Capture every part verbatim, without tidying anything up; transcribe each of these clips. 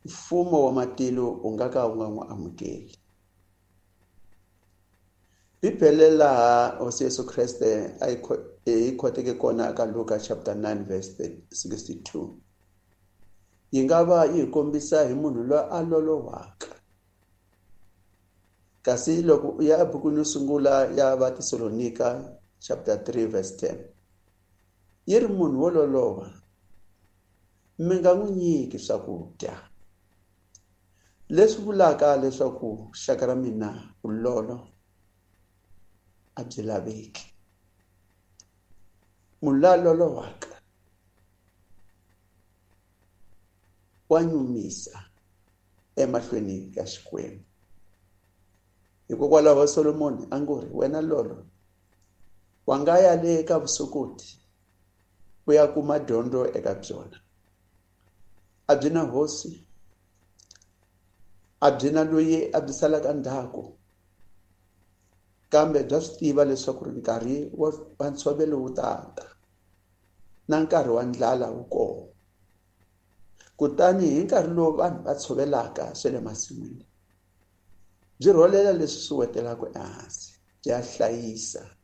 Mfumo wa matilo wu nga ka wu nga n'wi amukeli. Bibele laha Hosi Yesu Kreste a yi khoteke kona ka Luka chapter nine verse sixty-two yi nga va yi hi kombisa hi munhu loyi a lolohaka. Kasi loko u ya ebukwini yo sungula ya Vatesalonika chapter three verse ten yi ri munhu wo loloha mi nga n'wi nyiki swakudya, leswi vulaka leswaku xaka ra mina vulolo a byi laveki. Munhu la lolohaka wa nyumisa emahlweni ka Xikwembu. Hikokwalaho Solomoni a ngo ri wena lolo wa nga ya le ka vusokoti u ya kuma dyondzo eka byona. A byi na hosi, a byi na loyi a byi salaka ndzhaku, kambe bya swi tiva leswaku nkarhi wa ntshovelo wu ta ta na nkarhi wa ndlala wu kona. Kutani hi nkarhi lowu vanhu va tshovelaka swa le masin'wini, byi rholela leswi swi wetelaka ehansi, byi ya hlayisa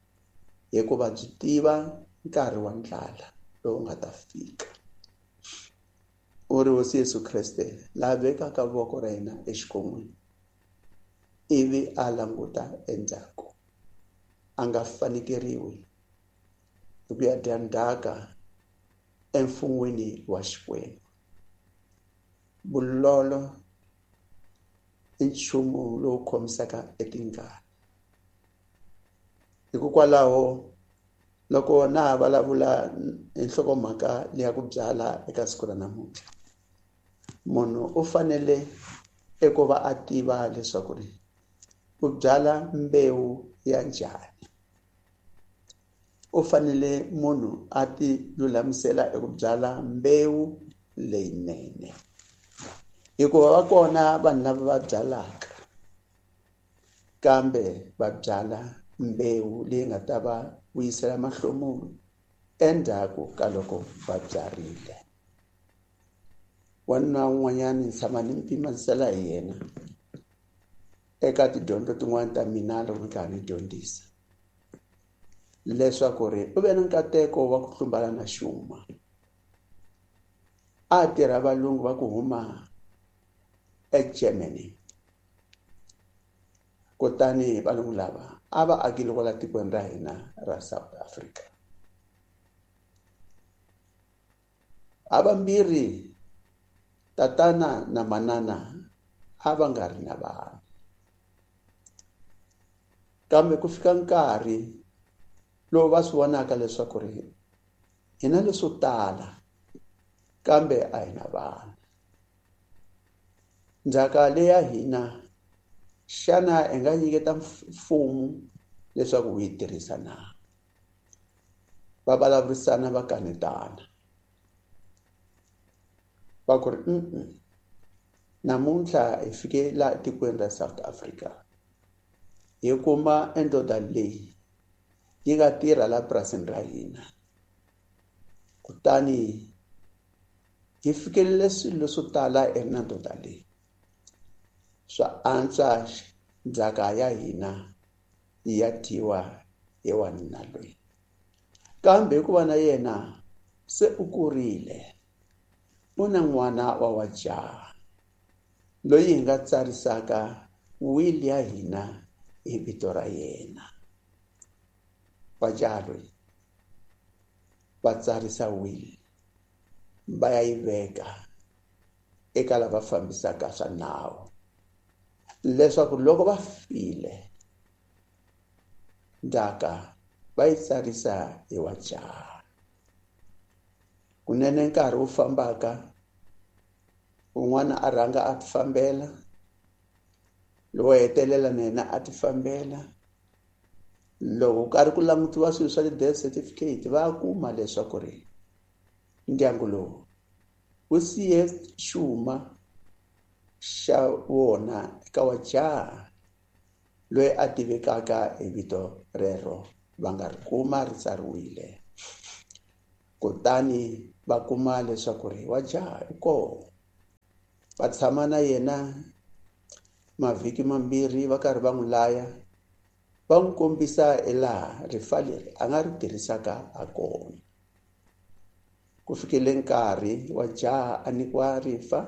hikuva byi tiva nkarhi wa ndlala lowu nga ta fika. U ri Hosi Yesu Kreste la vekaka voko ra yena exikon'weni ivi a languta endzhaku, a nga fanekeriwi hi ku ya dya ndzhaka emfun'weni wa Xikwembu. Vulolo i nchumu lowu khomisaka etingana. Hikokwalaho loko na ha vulavula hi nhlokomhaka leya ku byala eka siku ra namuntlha, munhu u fanele eku va a tiva leswaku ri u byala mbewu ya njhani. U fanele munhu a ti lulamisela eku byala mbewu leyinene, hikuva va kona vanhu lava va byalaka kambe va byala mbewu leyi nga ta va vuyisela mahlomulo endzhaku ka loko va byarile. Wanuna un'wanyana ni tshama ni pimanisela hi yena eka tidyondzo tin'wana ta mina loko ni karhi ni dyondzisa, leswaku ri u ve na nkateko wa ku hlumbana na xuma. A tirha valungu va ku huma eGermany, kutani valungu lava a va akile kwala tikweni ra hina ra South Africa. Havambirhi tatana na manana a va nga ri na vana, kambe ku fika nkarhi lowu va swi vonaka leswaku ri hina leswo tala kambe a hi na vana. Ndzhaka leya hina xana hi nga nyiketa mfumo leswaku wu yi tirhisa na? Va vulavurisana va kanetana, va ku ri mm namuntlha hi fike laha tikweni ra South Africa hi kuma endoda leyi yi nga tirha la purasini ra hina, kutani hi fikelele swilo swo tala eka ndoda leyi. Swa antswa ndzhaka ya hina yi ya dyiwa hi wanuna loyi, kambe hikuva na yena se u kurile, u na n'wana wa wa jaha loyi hi nga tsarisaka will ya hina hi vito ra yena. Wa jaha loyi va tsarisa will va ya yi veka eka lava fambisaka swa nawu, leswaku loko va file ndzhaka va yi tsarisa hi wa jaha. Kunene nkarhi wu fambaka, un'wana a rhanga a tifambela, lowo hetelela na yena a tifambela. Loko karhi ku langutiwa swilo swa ti-death certificate, va kuma leswaku ri ndyangu lowu wu siye xuma xa wona eka wa jaha loyi a tivekaka hi vito rero, va nga ri kuma ri tsariwile. Kutani va kuma leswaku ri wa jaha i kona. Va tshama na yena mavhiki mambirhi va karhi va n'wi laya, va n'wi kombisa elaha rifa leri a nga ri tirhisaka ha kona. Ku fikele nkarhi wa jaha a nyikiwa rifa,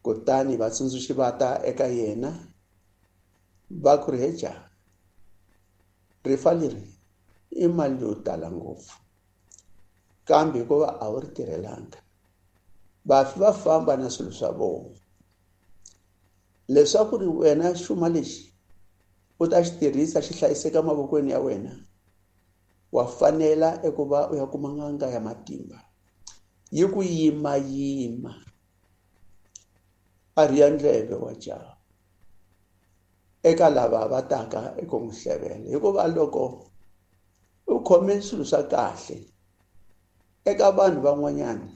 kutani vatsundzuxi va ta eka yena va ku ri, he jaha, rifa leri i mali yo tala ngopfu, kambe hikuva a wu ri tirhelanga, vafi va famba na swilo swa vona. Leswaku ri wena xuma lexi u ta xi tirhisa xi hlayiseka mavokweni ya wena, wa fanela eku va u ya kuma n'anga ya matimba yi ku yimayima. A rhiya ndleve wa jaha eka lava va taka eku n'wi hlevela, hikuva loko u khome swilo swa kahle eka vanhu van'wanyana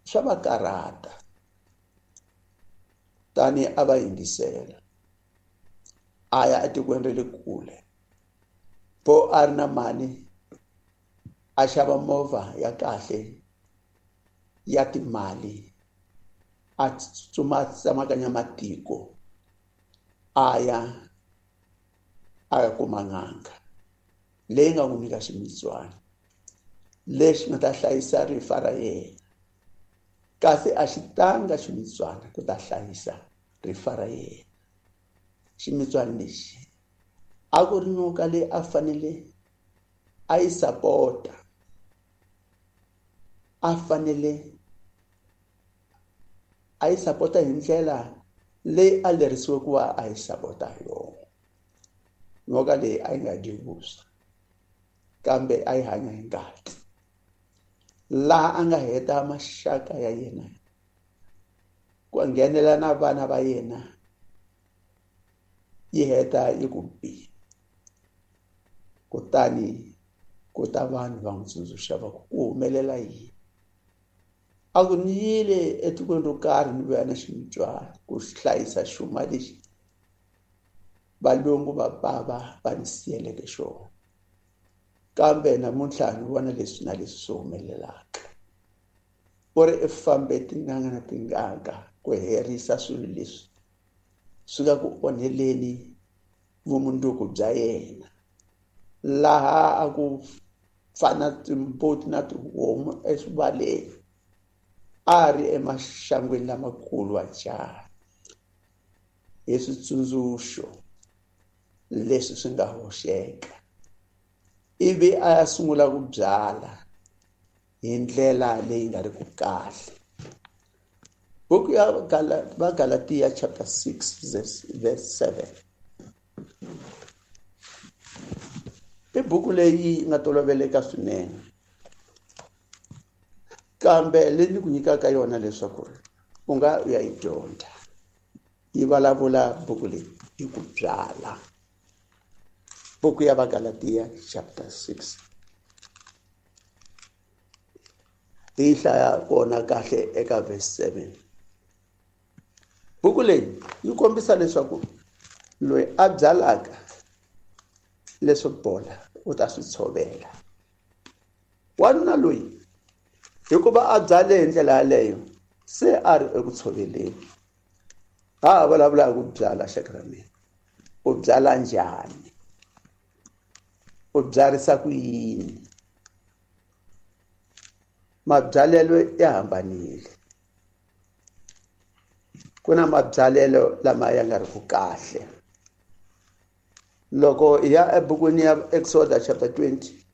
swa va karhata. Tani a va yingisela, a ya etikweni ra le kule, po a ri na mali, a xava movha ya kahle ya timali, a tsutsuma a tsemakanya matiko, a ya a ya kuma n'anga leyi nga n'wi nyika ximitswana lexi nga ta hlayisa rifa ra yena. Kasi a xi tanga ximitswana ku ta hlayisa rifa ra yena. Ximitswana lexi a ku ri nyoka leyi a fanele a yi sapota, a fanele a yi sapota hi ndlela leyi a lerisiwe ku va a yi sapota hi yona. Nyoka leyi a yi nga dyi vuswa, kambe a yi hanya hi ngati. Laha a nga heta maxaka ya yena, ku nghenela na vana va yena, yi heta yi ku bi. Kutani ku ta vanhu va n'wi tsundzuxa va ku ku humelela yini. A ku ni yile etikweni ro karhi ni vuya na ximitswana ku hlayisa xuma lexi valungu va bava va ni siyeleke xona, kambe namuntlha ni vona leswi na leswi swi humelelaka. U ri i fambe tin'anga na tin'anga ku herisa swilo leswi swi nga ku onheleni vumundzuku bya yena, laha a ku fana timbuti na tihomu eswivaleni, a ri emaxangwini lamakulu wa jaha hi switsundzuxo leswi swi nga hoxeka. Ivi a ya sungula ku byala hi ndlela leyi nga ri ku kahle. Buku ya Vagalatiya chapter six verse seven i buku leyi nga toloveleka swinene, kambe leyi ni ku nyikaka yona leswaku u nga u ya yi dyondza. Yi vulavula buku leyi hi ku byala. Buku ya Vagalatiya chapter six yi hlaya kona kahle eka verse seven. Buku leyi yi kombisa leswaku loyi a byalaka leswo bola u ta swi tshovela. Wanuna loyi hikuva a byale hi ndlela yaleyo, se a ri eku tshoveleni. Ha ha vulavula hi ku byala, xaka ra mina, u byala njhani? U byarisa ku yini? Mabyalelo ya hambanile. Ku na mabyalelo lama ya nga ri ku kahle. Loko hi ya ebukwini ya Exodus chapter twenty,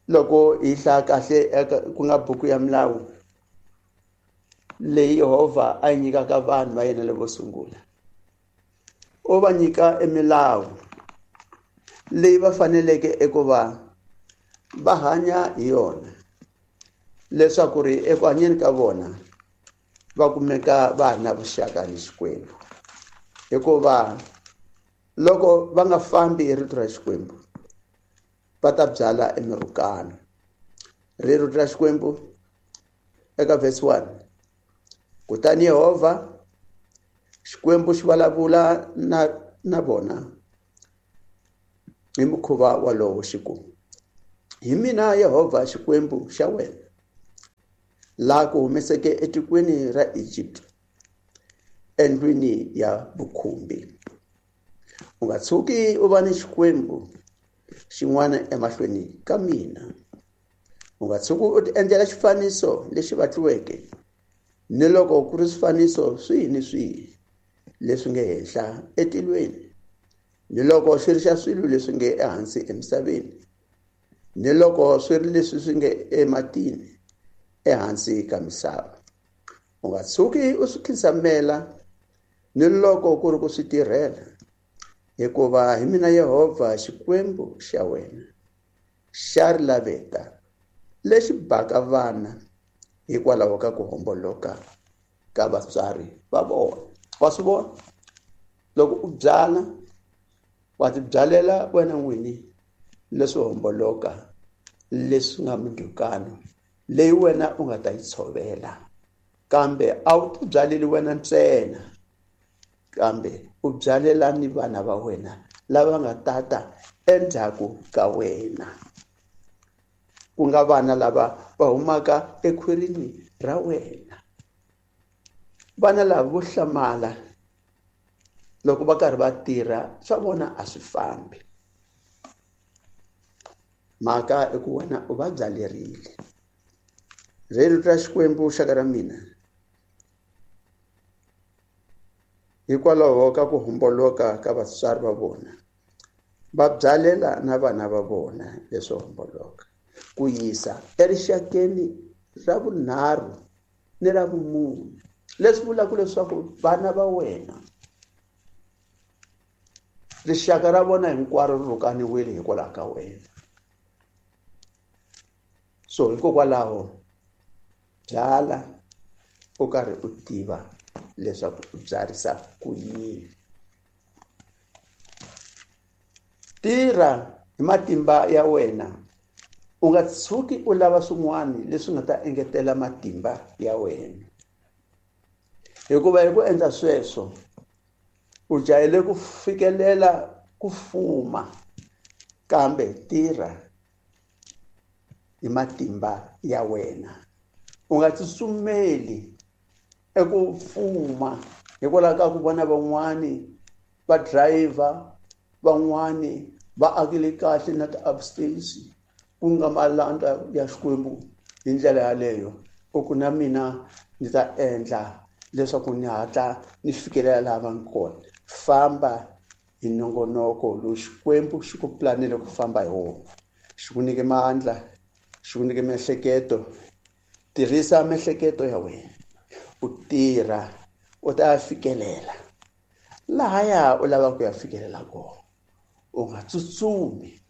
loko hi hlaya kahle ku nga buku ya milawu leyi Yehovha a yi nyikaka vanhu va yena lavo sungula, u va nyika emilawu leyi va faneleke eku va va hanya hi yona, leswaku ri eku hanyeni ka vona va kumeka va ha ri na vuxaka ni Xikwembu. Hikuva loko va nga fambi hi rito ra Xikwembu, va ta byala emirhukano. Rito ra Xikwembu eka verse one, kutani Yehovha Xikwembu xi vulavula na na vona hi mukhuva walowo xi ku, hi mina Yehovha Xikwembu xa wena, Laha ku humeseke etikweni ra Egypt, endlwini ya vukhumbi. U nga tshuki u va ni xikwembu xin'wana emahlweni ka mina. U nga tshuki u tiendlela xifaniso lexi vatliweke, ni loko ku ri swifaniso swihi ni swihi leswi nge henhla etilweni, ni loko xi ri xa swilo leswi nge ehansi emisaveni, ni loko swi ri leswi swi nge ematini ehansi ka misava. U nga tshuki u swi khinsamela, ni loko ku ri ku swi tirhela, hikuva hi mina Yehovha Xikwembu xa wena, xa ri laveta lexi baka vana hikwalaho ka ku homboloka ka vatswari va vona. Wa swi vona? Loko u byala, wa tibyalela wena n'wini leswo homboloka, leswi nga mindzhukano leyi wena u nga ta yi tshovela. Kambe a wu tibyaleli wena ntsena, kambe u byalela ni vana va wena lava nga tata endzhaku ka wena, ku nga vana lava va humaka ekhwirini ra wena. Vana lava vo hlamala loko va karhi va tirha, swa vona a swi fambi. Mhaka i ku wena u va byalerile. Rito ra Xikwembu xaka ra mina, hikwalaho ka ku homboloka ka vatswari va vona, va byalela na vana va vona leswo homboloka, ku yisa erixakeni ra vunharhu ni ra vumune. Leswi vulaka leswaku vana va wena, rixaka ra vona hinkwaro ri rhukaniwile hikwalaho ka wena. So hikokwalaho byala u karhi u tiva leswaku u byarisa ku yini. Tirha hi matimba ya wena, u nga tshuki u lava swin'wana leswi nga ta engetela matimba ya wena, hikuva hi ku endla sweswo u jahele ku fikelela ku fuma. Kambe tirha hi matimba ya wena, u nga tsutsumeli eku fuma hikwalaho ka ku vona van'wani va driver, van'wani va akile kahle na ti-upstairs, ku nga malandza ya Xikwembu hi ndlela yaleyo. U ku na mina ndzi ta endla leswaku ni hatla ni fikelela laha va nga kona. Famba hi nongonoko lowu Xikwembu xi ku planele ku famba hi wona. Xi ku nyike mandla, xi ku nyike miehleketo. Tirhisa miehleketo ya wena, u tirha, u ta fikelela lahaya u lavaka ku ya fikelela kona. U nga tsutsumi,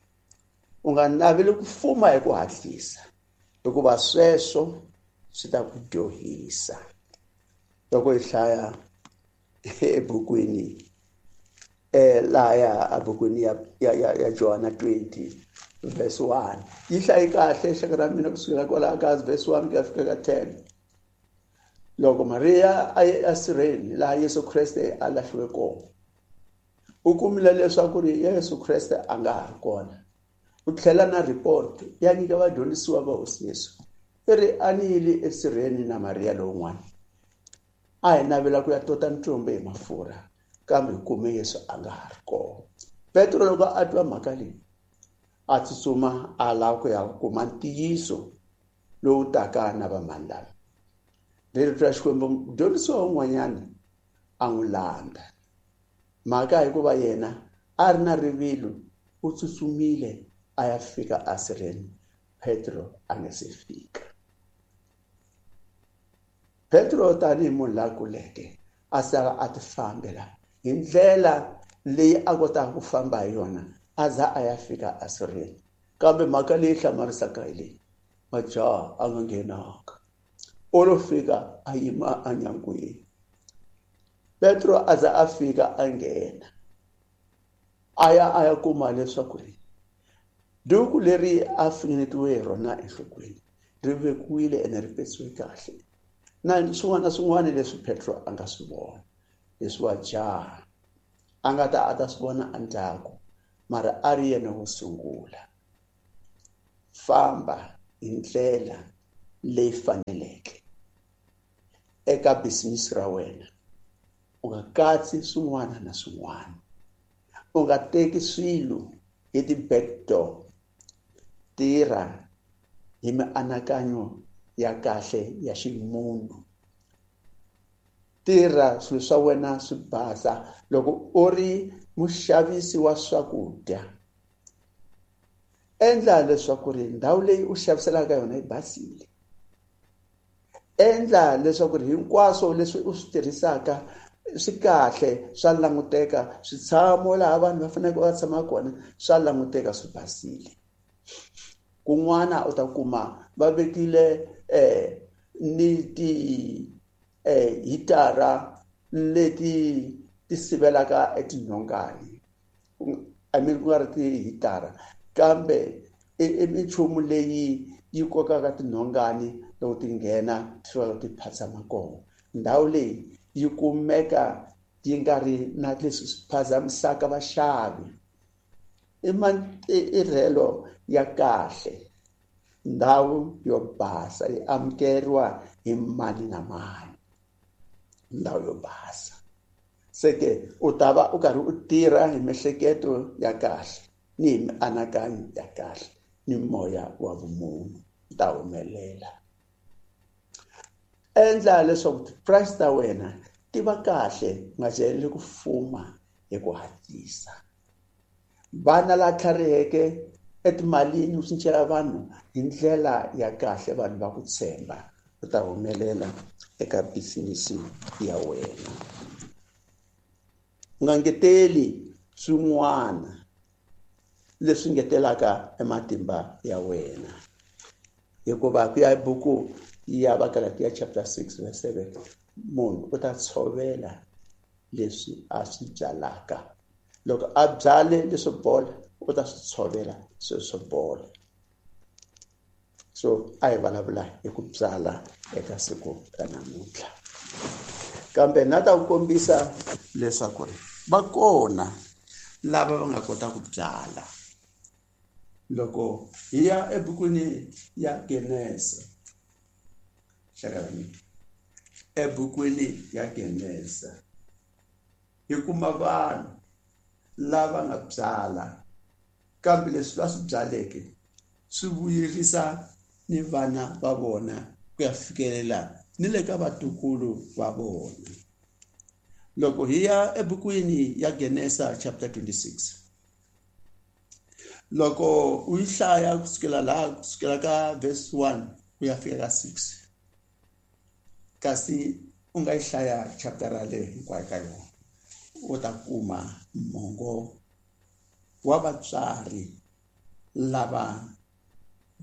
u nga naveli ku fuma hi ku hatlisa, hikuva sweswo swi ta ku dyohisa. Loko hi hlaya ebukwini eh lahaya ebukwini ya ya ya Johana twenty verse one, yi hlayi kahle xaka ra mina kusukela kwalaho ka verse one ku ya fika ka ten. Loko Maria a ye esirheni laha Yesu Kreste a lahliwe kona, u kumile leswaku ri Yesu Kreste a nga ha ri kona. U tlhela na report ya nyika vadyondzisiwa va Hosi Yesu, i ri a ni yile esirheni na Maria lowun'wana, a hi navela ku ya tota ntsumbu hi mafurha, kambe hi kume Yesu a nga ha ri kona. Petro loko a twa mhaka leyi, a tsutsuma a lava ku ya kuma ntiyiso lowu taka na vamani lava. Rito ra Xikwembu, mudyondzisiwa un'wanyana a n'wi landza. Mhaka hikuva yena a ri na rivilo, u tsutsumile a ya fika esirheni, Petro a nga se fika. Petro tanihi munhu la kuleke, a sala a ti fambela hi ndlela leyi a kotaka ku famba hi yona, a za a ya fika esirheni. Kambe mhaka leyi hlamarisaka hi leyi, majaha a nga nghenanga, o lo fika a yima enyangweni. Petro a za a fika a nghena, a ya a ya kuma leswaku ri duku leri a finingetiwe hi rona enhlokweni ri vekiwile ene ri petsiwe kahle, na swin'wana na swin'wana leswi Petro a nga swi vona, leswi wa jaha a nga ta a ta swi vona endzhaku, mara a ri yena wo sungula. Famba hi ndlela leyi faneleke. Eka business ra wena u nga katsi swin'wana na swin'wana, u nga teki swilo hi ti-back door. Tirha hi mianakanyo ya kahle ya ximunhu, tirha swilo swa wena swi basa. Loko u ri muxavisi wa swakudya, endla leswaku ri ndhawu leyi u xaviselaka yona yi basile. Endla leswaku ri hinkwaswo leswi u swi tirhisaka swi kahle, swa languteka, switshamo laha vanhu va faneleke va tshama kona swa languteka swi basile. Kun'wana u ta kuma va vekile eh ni ti eh hitara leti ti sivelaka etinhongani, I mean ku nga ri tihitara kambe i minchumu leyi yi kokaka tinhongani loko ti nghena ti fika ti phatsama kona. Ndhawu leyi yi kumeka yi nga ri na leswi swi phazamisaka vaxavi. I matirhelo ya kahle, ndhawu yo basa yi amukeriwa hi mani na mani, ndhawu yo basa. Se ke u ta va u karhi u tirha hi miehleketo ya kahle ni hi mianakanyo ya kahle ni moya wa vumunhu, u ta humelela. Endla leswaku ti-price ta wena ti va kahle, u nga jaheli ku fuma hi ku hatlisa. Vana la tlhariheke etimalini u cincela vanhu hi ndlela ya kahle, vanhu va ku tshemba, u ta humelela eka business ya wena. U nga ngeteli swin'wana leswi ngetelaka ematimba ya wena, hikuva ku ya hi buku ya Vagalatiya chapter six verse seven, munhu u ta tshovela leswi a swi byalaka. Loko a byale leswo bola, u ta swi tshovela swilo swo bola. So a hi vulavula hi ku byala eka siku ra namuntlha, kambe na ta ku kombisa leswaku ri va kona lava va nga kota ku byala. Loko hi ya ebukwini ya Genesa, hlakani ebukwini ya Genesa hi kuma vanhu lava nga byala, kambe leswi va swi byaleke swi vuyerisa ni vana va vona ku ya fikelela ni le ka vatukulu va vona. Loko hi ya ebukwini ya Genesa chapter twenty-six, loko u yi hlaya kusukela laha kusukela ka verse one ku ya fika ka six, kasi u nga yi hlaya chapter yaleyo hinkwayo ka yona, u ta kuma mongo wa vatswari lava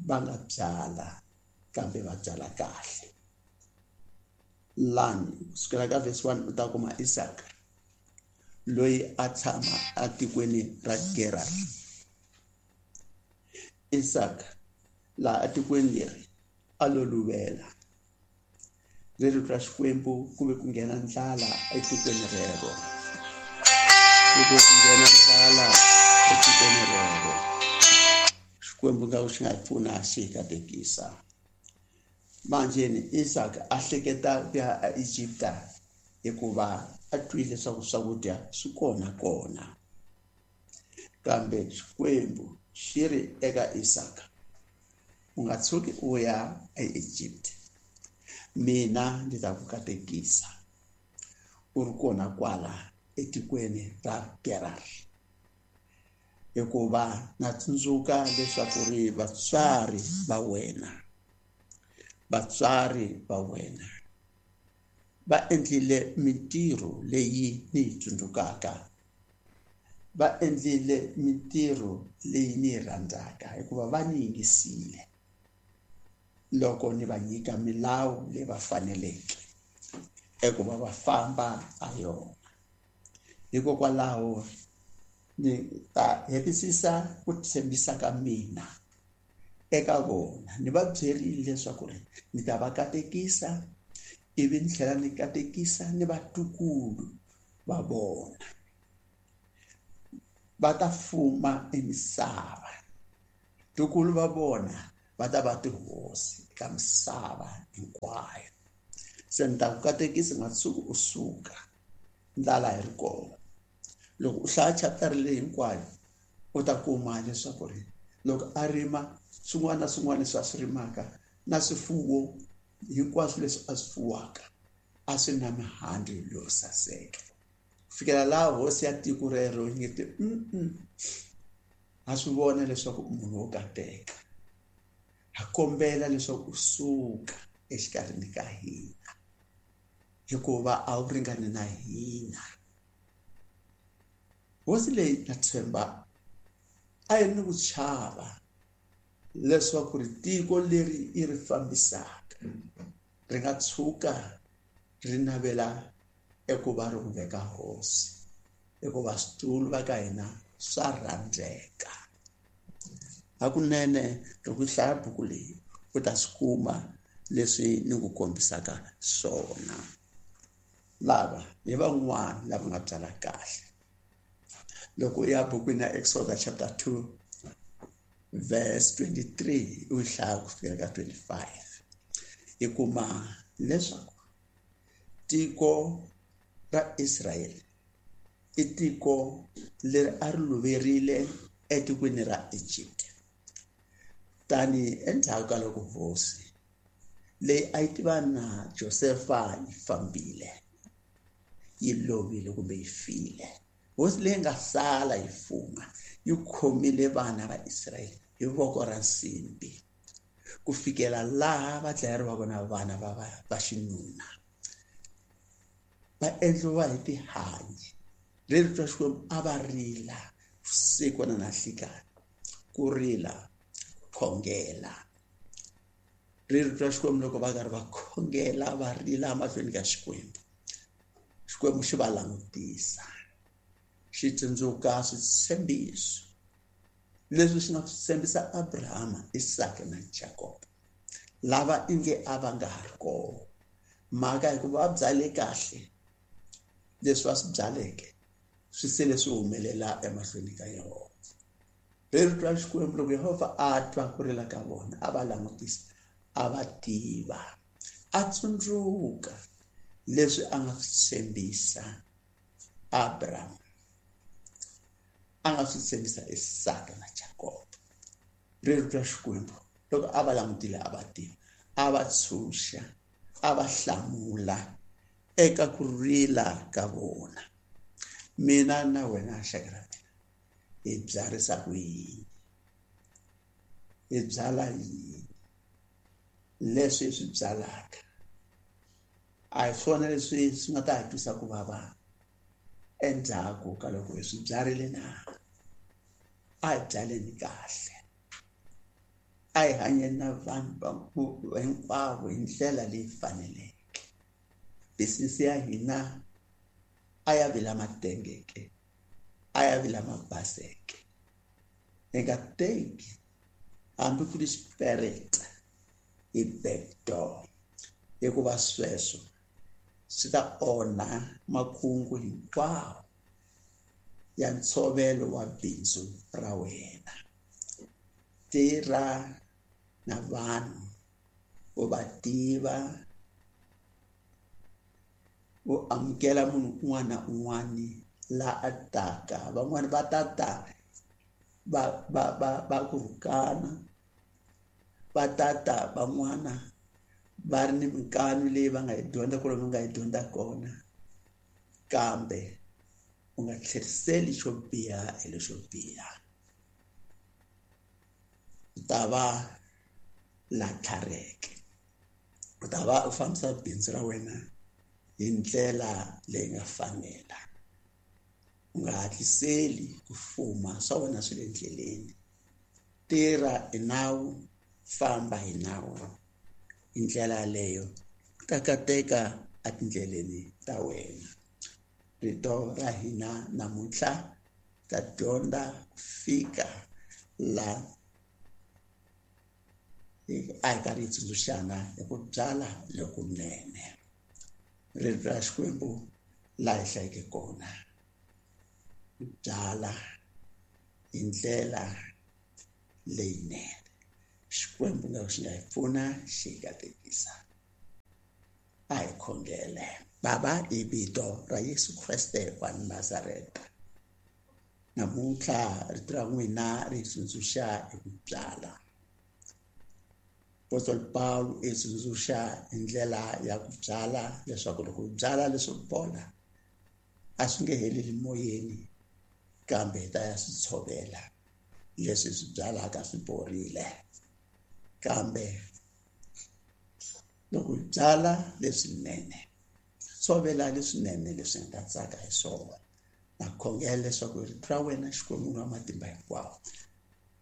va nga byala kambe va byala kahle. Lani kusukela ka verse one u ta kuma Isaka loyi a tshama atikweni ra Gerar. Isaka laha atikweni leri a lo luvela rito ra Xikwembu, ku ve ku nghena ndlala etikweni rero, ku ve ku nghena ndlala etikweni rero. Xikwembu nga xi nga pfuna xi katekisa. Manjeni Isaka a hleketa ku ya aEgipta hikuva a twile leswaku swakudya swi kona kona, kambe Xikwembu xi ri eka Isaka, u nga tshuki u ya aEgypt, mina ndzi ta ku katekisa u ri kona kwala etikweni ra Gerar, hikuva na tsundzuka leswaku ri vatswari va wena, vatswari va wena va endlile mintirho leyi ni yi tsundzukaka, va endlile mintirho leyi ni yi rhandzaka, hikuva va ni yingisile loko ni va nyika milawu leyi va faneleke eku va va famba ha yona. Hikokwalaho ni ta hetisisa ku tshembisa ka mina eka vona. Ni va byerile leswaku ri ni ta va katekisa, ivi ni tlhela ni katekisa ni vatukulu va vona, va ta fuma emisava. Tukulu va vona va ta va tihosi eka misava hinkwayo. Se ni ta ku katekisa nga tshuki u suka ndlala yi ri kona. Loko u hlaya chapter leyi hinkwayo u ta kuma leswaku ri loko a rima swin'wana na swin'wana leswi a swi rimaka na swifuwo hinkwaswo leswi a swi fuwaka a swi na mihandzu yo saseka. Ku fikela laha hosi ya tiko rero yi nge te ha swi vona leswaku munhu wo kateka, ha kombela leswaku u suka exikarhini ka hina hikuva a wu ringani na hina. Hosi leyi na tshemba a yi ri ni ku chava leswaku ri tiko leri yi ri fambisaka ri nga tshuka ri navela eku va ri ku veka hosi, hikuva switulu va ka hina swa rhandzeka. Hakunene loko u hlaya buku leyi u ta swi kuma leswi ni ku kombisaka swona. Lava hi van'wana lava nga byala kahle. Loko u ya bukwini ya Exodus chapter two verse twenty-three u hlaya ku fikela ka twenty-five, hi kuma leswaku tiko ra Israel i tiko leri a ri luverile etikweni ra Egypt. Tani endzhaku ka loko hosi leyi a yi tiva na Josefa yi fambile, yi lovile kumbe yi file, hosi leyi nga sala yi fuma yi khomile vana va Israyele hi voko ra nsimbi ku fikela laha va dlayeriwaka na vana va va xinuna, va endliwa hi tihanyi. Rito ra Xikwembu a va rila vusiku na nhlikani, ku rila khongela. Rito ra Xikwembu loko va karhi va khongela va rila mahlweni ka Xikwembu, Xikwembu xi va langutisa, xi tsundzuka switshembiso leswi xi nga swi tshembisa Abrahama, Isaka na Jakob, lava inge a va nga ha ri kona. Mhaka hikuva va byale kahle, leswi va swi byaleke swi sele swi humelela emahlweni ka Yehovha. Rito ra Xikwembu loko Yehovha a twa ku rila ka vona, a va langutisa, a va tiva, a tsundzuka leswi a nga swi tshembisa Abraham, a nga swi tshembisa Isaka na Jakob. Rito ra Xikwembu loko a va langutile a va tiva, a va tshunxa, a va hlamula eka ku rila ka vona. Mina na wena xaka ra mina hi byarisa ku yini, hi byala yini? Leswi hi swi byalaka a hi swona leswi swi nga ta hi twisa ku vava endzhaku ka loko hi swi byarile na? A hi byaleni kahle, a hi hanyeni na vanhu hinkwavo hi ndlela leyi faneleke. Bisinisi ya hina a ya vi lama tengeke, a ya vi lama baseke. Hi nga teki hambi ku ri xipereta hi backdoor, hikuva sweswo swi ta onha makungu hinkwawo ya ntshovelo wa bindzu ra wena. Tirha na vanhu u va tiva, u amukela munhu un'wana na un'wana la a taka. Van'wani va ta ta va va va va ku rhukana, va ta ta van'wana va ri ni minkanu leyi va nga yi dyondza ku va nga yi dyondza kona, kambe u nga tlheriseli xo biha hi lexo biha. U ta va la tlhariheke, u ta va u fambisa bindzu ra wena hi ndlela leyi nga fanela. U nga hatliseli ku fuma, swa wena swi le ndleleni. Tirha hi nawu, famba hi nawu. Hi ndlela yaleyo u ta kateka etindleleni ta wena. Rito ra hina namuntlha ta dyondza ku fika la a hi karhi hi tsundzuxana hi ku byala lokunene. Rito ra Xikwembu laha hi hlayeke kona, ku byala hi ndlela leyinene. Xikwembu nga xi nga hi pfuna xi hi katekisa. A hi khongele. Baba, hi vito ra Yesu Kreste wa Nazareta, namuntlha rito ra n'wina ri tsundzuxa hi ku byala. Apostol Paul i tsundzuxa hi ndlela ya ku byala, leswaku loko u byala leswo bola a swi nge heleli moyeni, kambe hi ta ya swi tshovela. Leswi swi byalaka swi borile, kambe loko hi byala leswinene, tshovela leswinene leswi nga ta tsaka hi swona. Na khongela leswaku rito ra wena Xikwembu wa matimba hinkwawo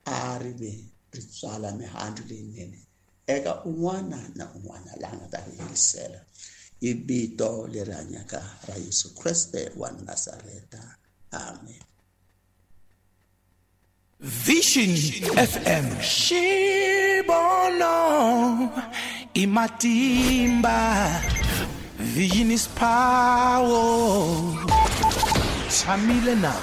a ri ve ri tswala mihandzu leyinene eka un'wana na un'wana laha nga ta ri yingisela. Hi vito leri hanyaka ra Yesu Kreste wa Nazareta, amen. Vision F M Xibono imatimba. Vision is power. Tshamile na